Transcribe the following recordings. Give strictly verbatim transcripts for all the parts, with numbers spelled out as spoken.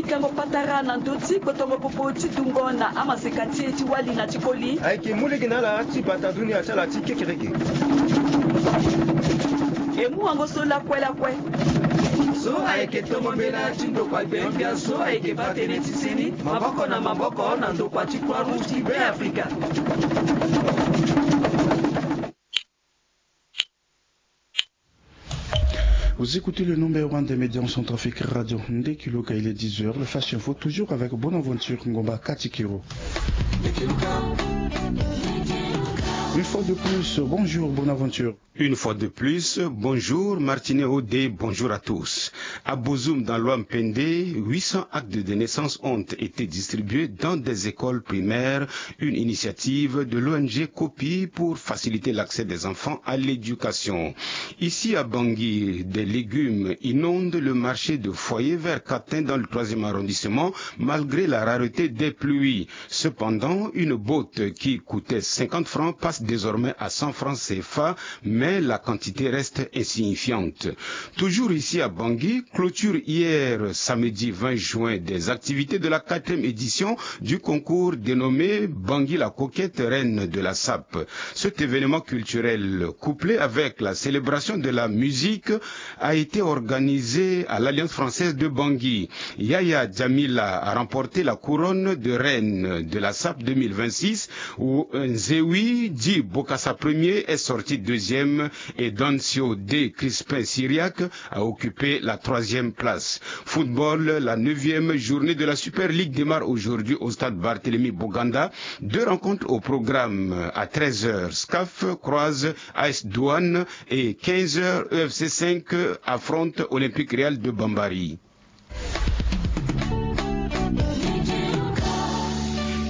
Kango patara na ndö ti kpotongo popo ti dungo na amaseka ti e ti wali na ti koli. Ayeke mu lege na ala ti bata dunia ti ala ti kekereke. E mu wango so lakue lakue. So ayeke tongo mbela ti ndokua gbengbia so ayeke baa tënë ti seni maboko na maboko na ndokua ti Croix Rouge ti Beafrika. Vous écoutez le numéro un des médias en centrafrique, Radio Nde Kiloka, il est dix heures. Le Flash Info, toujours avec Bonaventure Ngomba Katikiro. Une fois de plus, bonjour Bonaventure. Une fois de plus, bonjour Martinet Odé, bonjour à tous. À Bozoum, dans l'Ouham-Pendé, huit cents actes de naissance ont été distribués dans des écoles primaires, une initiative de l'O N G Copi pour faciliter l'accès des enfants à l'éducation. Ici à Bangui, des légumes inondent le marché de Foyer vers Katin dans le troisième arrondissement, malgré la rareté des pluies. Cependant, une botte qui coûtait cinquante francs passe désormais à cent francs C F A, mais la quantité reste insignifiante. Toujours ici à Bangui, clôture hier, samedi vingt juin, des activités de la quatrième édition du concours dénommé Bangui la Coquette, reine de la sape. Cet événement culturel, couplé avec la célébration de la musique, a été organisé à l'Alliance française de Bangui. Yaya Djamila a remporté la couronne de reine de la sape deux mille vingt-six, où Nzewi, dit Bokassa premier, est sorti deuxième et Dancio D Crispin Syriac a occupé la troisième place. Football, la neuvième journée de la Super League démarre aujourd'hui au stade Barthélemy Boganda. Deux rencontres au programme à treize heures. SCAF croise A S Douane et quinze heures, E F C cinq affronte Olympique Real de Bambari.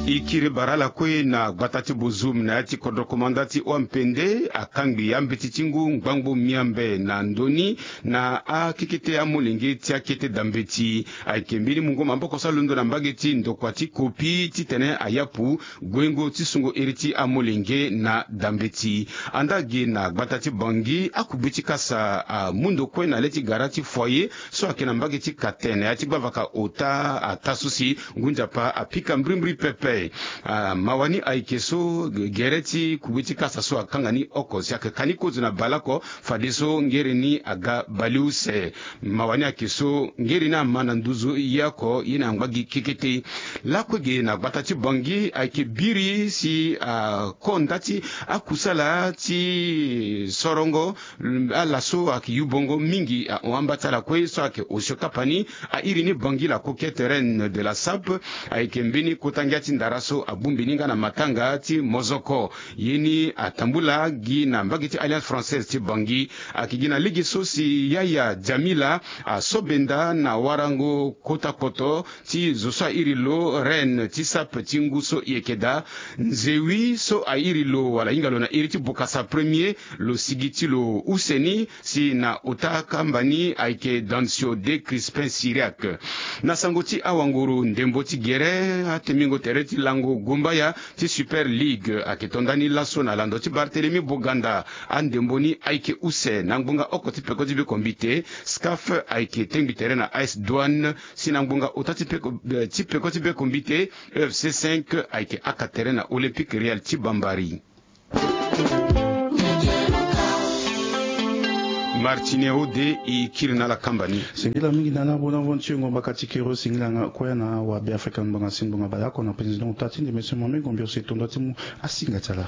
E kiri bara ala kue na gbata ti Bozoum na ya ti kodro komanda ti Ouham-Pendé, akangbi ambeti ti ngu ngbangbo miambe na ndö ni na akekete amolenge ti akete dambeti. Ayeke mbeni mungo maboko so alondo na mbage ti ndokua ti Kopi titene ayapu guengo ti sungo iri ti amolenge na dambeti. Anda gi na gbata ti Bangui, akugbe ti kasa amu ndo kue na le ti gara ti Foyer so ayeke na mbage ti Katin na ya ti gbavaka ota, ata so si ngu nzapa apika mbrimbri pepe. Ah, mawa ni ayeke so gere ti kugbe ti kasa so akanga ni oko si ayeke ka ni kozo na baleoko, fadeso ngere ni aga baleuse. Mawa ni ayeke so ngere ni ama na nduzu ye oko ye na ngba gi kekete. Lakue ge na gbata ti Bangui ayeke biri si akonda ti akusala ti sorongo ala so ayeke yubongo mingi ahon amba ti ala kue so ayeke osio kapa ni. Airi ni Bangui la Coquette, reine de la sape, ayeke mbeni kota ngia ti ndara so abongbi ni nga na matanga ti mozoko. Ye ni atambula gi na mbage ti Alliance française ti Bangui. Ayeke gi na lege so si Yaya Djamila aso benda na warango kota koto ti zo so airi lo reine ti sape ti ngu so e yeke daa. Nzewi so airi lo wala ahinga lo na iri ti Bokassa premier, lo sigi ti lo use ni si na ota kamba ni ayeke Dancio D Crispin Syriac. Na sango ti awanguru ndembo ti gere, atemingo tere ti lango gumbaya ti Super League ayeke to ndani laso na lando ti Barthélemy Boganda. Andembo ni ayeke use na ngbonga oko ti peko ti be kombite. SCAF ayeke tengbi tere na A S Douane, si na ngbonga ota ti peko, eh, ti peko ti be kombite, E F C cinq ayeke aka tere na Olympique Real ti Bambari. Martine Ode e kiri na ala kamba ni. Singila mingi na ala Bonaventure Ngomba Katikero, singila nga kue na wa Be Afrika, ngbanga si ngbanga baleoko na président ota ti ndembe so mo me ngombi ose tondo ti mu asinga ti ala.